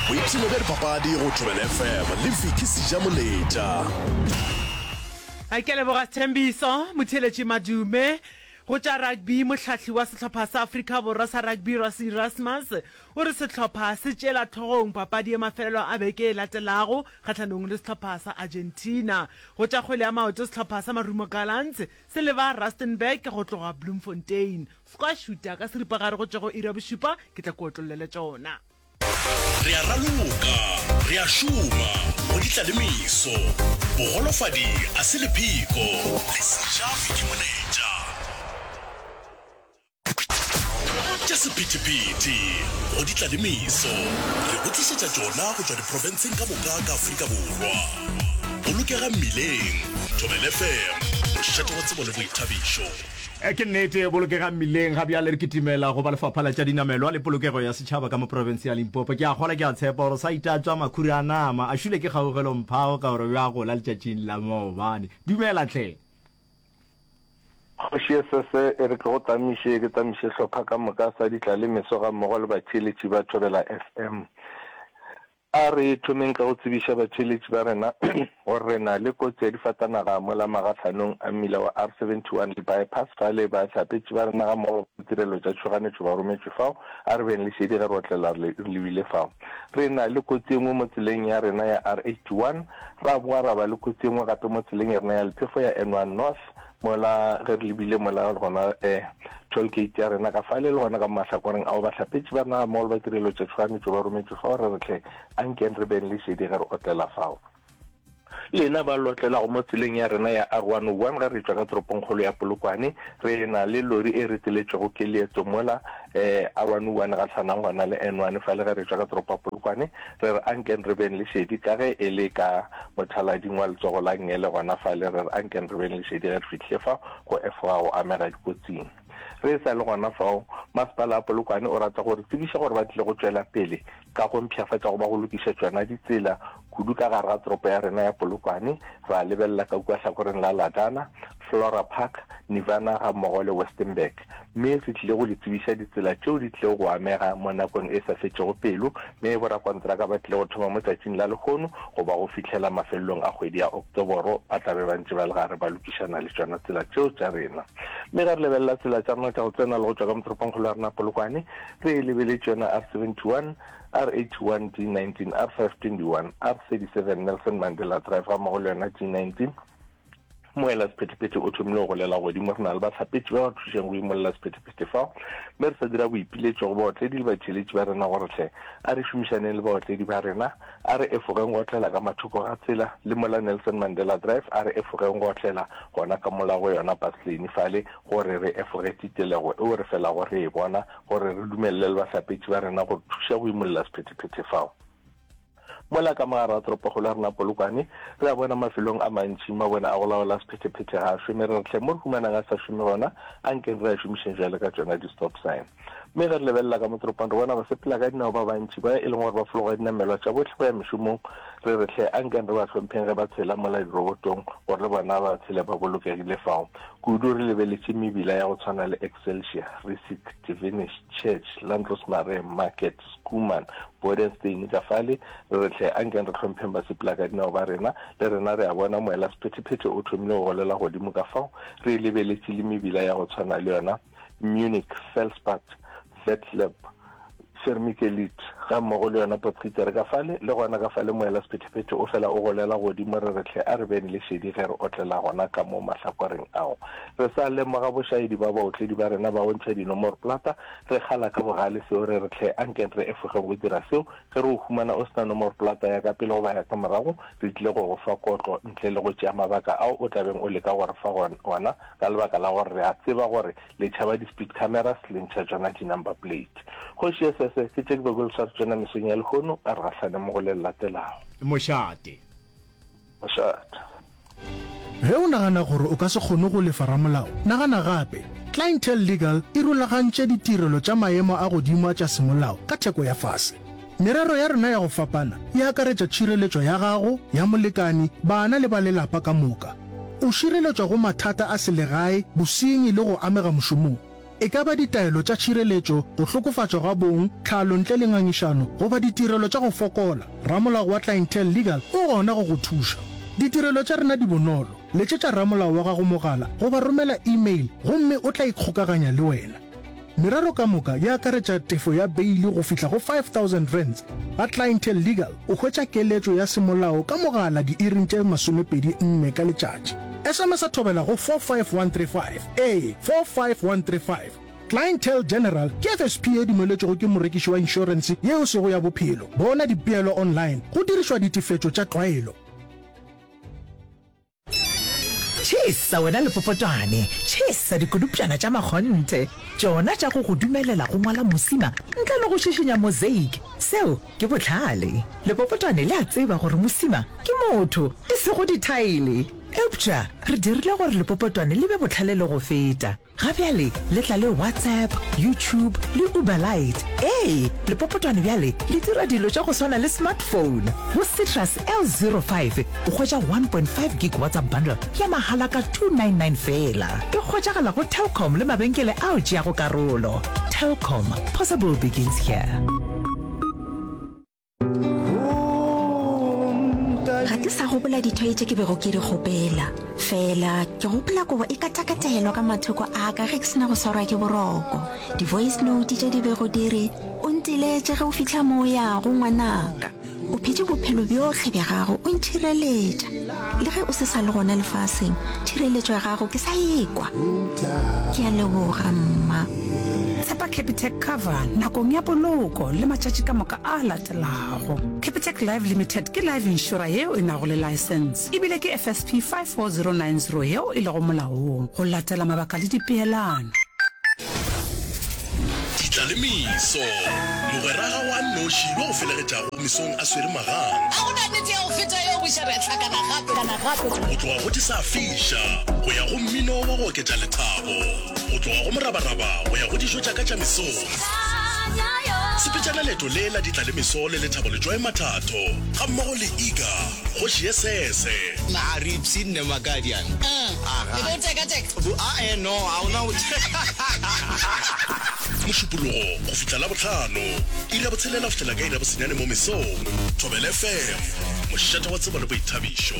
Boipshino bja dipapadi go Thobela FM le Vicky Sejamoletša. Ke a leboga Sthembiso Motheeletši Madume. Go tša rugby, mohlahli wa sehlopha sa Afrika Borwa sa rugby Rassie Erasmus o re sehlopha se tšeela hlogong papadi ya mafelelo a beke e latelago kgahlanong le sehlopha sa Argentina. Go tša kgwele ya maoto, sehlopha sa Marumo Gallants se leba Rustenburg go tloga Bloemfontein. Squash šuta ka seripagare go tšwa go iri ya bošupa, ke tla ke otlollele tšona. Re a raloka, re a šoma, go di tla le meso. Bogolofadi a se lepheko, le seja Vicky Moletša. Tša sephethephethe, go di tla le meso. Re go tlišetša tšona go tšwa diprofenseng ka moka ka Afrika Borwa. Bolokega mmileng, Thobela FM, mošate wa tsebo le boithabišo. Ke nnete, bolokega mmileng. Ga bjale re kitimela go ba Lefapha la tša Dinamelwa le Polokego ya Setšhaba ka mo profense ya Limpopo. Ke a kgola, ke a tshepa gore sa itatswa makhura a nama, a šule ke kgaugelo Mphao ka gore bja gola letšatšing la maobane. Dumela hle. Kgoši Esese e re ke go tamiše, ke tamiše hlopha ka moka sa ditlalemeso gammogo le batheeletši ba Thobela FM. A re thomeng ka go tsebiša batheeletši ba rena gore re na le kotsi ya difatanaga mola magahlanong a mmila wa R71 le Bypass fale bahlapetši ba rena gammogo le ditirelo tša tšhoganetšo ba rometšwe fao. A re beng le šedi ge re otlela re lebile fao. Re na le kotsi e nngwe mo tseleng ya rena ya R81, ra boa ra ba le kotsi e nngwe gape mo tseleng ya rena ya lephefo ya N1 North Mola ge re lebile mola gona eh, toll gate ya rena ka fale le gona ka mo mahlakoreng ao bahlapetši ba rena gammogo le ba tirelo tša tšhoganetšo ba rometšwe fao re re hle ankeng re beng le šedi ge re otlela fao. Lena ba lotlelago mo tseleng ya rena ya R101 ge re tšwa ka toropongkgolo ya Polokwane re na le lori e reteletšwego ke leeto mola eh, R101 gahlanang gona le N1 fale ge re tšwa ka toropo ya Polokwane Re re ankeng re beng le šedi ka ge e le ka mothalading wa letsogo la nngele gona fale, re re ankeng re beng le šedi ge re fihlile fa go efoga go amega dikotsing. Re sa le gona fao, Masepala wa Polokwane o rata go re tsebiša gore ba tlile go tšwela pele ka go mpshafatša goba go lokiša tšona ditsela kudu ka gare ga toropo ya rena ya Polokwane, ra lebelela ka kua hlakoreng la Ladana, Flora Park, Nirvana gammogo le Westenburg. Mme re tlile go le tsebiša ditsela tšeo di tlilego go amega mo nakong e sa fetšego pelo, mme borakontraka ba tlile go thoma mo tšatšing la lehono go ba go fihlela mafelelong a kgwedi ya Oktoboro ba tla be ba ntše ba le gare ba lokišana le tšona tsela tšeo tša rena. Mme ge re lebelela tsela tša rena tša go tsena le go tšwa ka motoropongkgolo ya rena Polokwane, re e lebeletše yona R71, R81, G19, R521, R37 Nelson Mandela Drive gammogo le yona G19, Moela sephethephethe o thomile go golela godimo. Re na le bahlapetši ba ba thušang go imolla sephethephethe fao, mme re sa dira boipiletšo go baotledi le batheeletši ba rena gore hle a re šomišaneng le baotledi ba rena, a re efogeng go otlela ka mathoko ga tsela le mola Nelson Mandela Drive, a re efogeng go otlela gona ka mola go yona bus lane fale gore re efoge titelego eo re felago re e bona, gore re dumelele le bahlapetši ba rena go re thuša go imolla sephethephethe fao. Mola ka mogare ga toropokgolo ya rena Polokwane, re a bona mafelong a mantši mabone a go laola sephethephethe ga a šome. Re re hle mo re humanang a sa šome gona, ankeng re a šomišeng bjale ka tšona di-stop sign. Mme ge re lebelela ka mo toropong re bona basepela ka dinao ba bantši ba e leng gore ba fologa dinamelwa tša bohle go ya mešomong. Re re hle ankeng re ba hlompheng ge ba tshela mola dirobotong gore le bona ba tshele ba bolokegile fao. Kudu re lebeletše mebila ya go tshwana le Excelsior, Rissik, Divinish, Church, Landros Marais, Market, Schoeman, Bodenstein ka fale, re re hle ankeng re hlompheng basepelakadinao ba rena, le rena re a bona moela sephethephethe o thomile go golela godimo ka fao re e lebeletše le mebila ya go tshwana le yona Munich, Felspad, Vetleb, Vermicelite gammogo le yona Potgieter ka fale, le gona ka fale moela sephethephethe o fela o golela godimo re re hle a re beng le šedi ge re otlela gona ka mo mahlakoreng ao. Re sa lemoga bošaedi ba baotledi ba rena ba go ntšha dinomoroplata Re kgala ka bogale seo, re re, Hle, anke re efogeng go dira seo. Ge re go humana o se na nomoroplata ya ka pele goba ya ka morago, re tlile go go fa kotlo ntle le go tšea mabaka ao o tla beng o leka go re fa ona ka lebaka la gore re a tseba gore le tšhaba di-speed cameras le ntšha tšona di-number plate. Kgoši Esese, ke tše ke bego ke le sware tšona mesong ya lehono, a re gahlane mo go le le latelago. Mošate. Mošate. Ge o nagana gore o ka se kgone go lefa ramolao, nagana gape. Clientele Legal e rulagantše ditirelo tša maemo a godimo a tša semolao ka theko ya fase. Merero ya rena ya go fapana e akaretša tšhireletšo ya gago, ya molekani, bana le ba lelapa ka moka. O šireletšwa go mathata a selegae, bosenyi le go amega mošomong. E ka ba ditaelo tša tšhireletšo, go hlokofatšwa ga bong, tlhalo ntle le ngangišano, goba ditirelo tša go fokola, ramolao wa Clientele Legal o gona go go thuša. Ditirelo tša rena di bonolo, letšetša ramolao wa gago mogala goba romela email gomme o tla ikgokaganya le wena. Merero ka moka e akaretša tefo ya beili go fihla go R5000. Ga Clientele Legal o hwetša keletšo ya semolao ka mogala diiring tše 24 ka letšatši. SMS-a thobela go 45135. Ee, 45135. Clientele General ke FSP ye dumeletšwego ke morekiši wa inšorense ye e sego ya bophelo. Bona dipeelo online go dirišwa ditefetšo tša tlwaelo. Tšhesa wena lepopotwane, tšhesa dikodupšana tša makgonthe, tšona tša go go dumelela go ngwala mosima ntle le go šišinya mosaic. Seo ke bohlale. Lepopotwane le a tseba gore mosima ke motho, e sego dithaele. Eupša re dirile gore lepopotwane le be bohlale le go feta. Ga bjale le tla le WhatsApp, YouTube le Uber Lite. Ee, lepopotwane bjale le dira dilo tša go swana le smartphone. Go Citrus L05 o hwetša 1.5 gig WhatsApp bundle ya mahala ka 299 feela. E hwetšagala go Telkom le mabenkele ao tšeago karolo. Telkom, possible begins here. Ga ke sa gopola dithoyi tše ke bego ke di kgopela. Fela ke gopola kobo e katakatelwa ka mathoko a ka ge ke sena go swarwa ke boroko. Di-voice note tše di bego di re, O nteletše ge o fihla mo o yago, ngwanaka. O phetše bophelo bjohle bja gago o ntšhireletša. Le ge o se sa le gona lefaseng, tšhireletšo ya gago ke sa e kwa. Ke a leboga, mma. Tshepa Capitec Cover nakong ya poloko le matšatši ka moka a latelago. Capitec Life Limited ke life insurer yeo e nago le laesense ebile ke FSP 54090 yeo e lego molaong go latela mabaka le dipeelano. Ditlalemeso, Mogwera gago a nnoši yo o felegetšago mesong a swere magang. Ga go na nnete ya go feta yeo, buša re a hlakana gape. Go tloga go di sa fiša go ya go mmino wa go oketša lethabo. Go tloga go morabaraba go ya go dijo tša ka tša mesong. Sepetšana leeto le la ditlalemeso le Lethabo Letšoe Mathatho gammogo le Iga Kgoši ye Sese. Na a re ipshinne Makadiane? Aga. E be o tekateka? Bo, a-e, no, ga o na go. Mošupologo go fihla Labohlano, iri ya botshelela go fihlela ka iri ya bosenyane mo mesong. Thobela FM, mošate wa tsebo le boithabišo.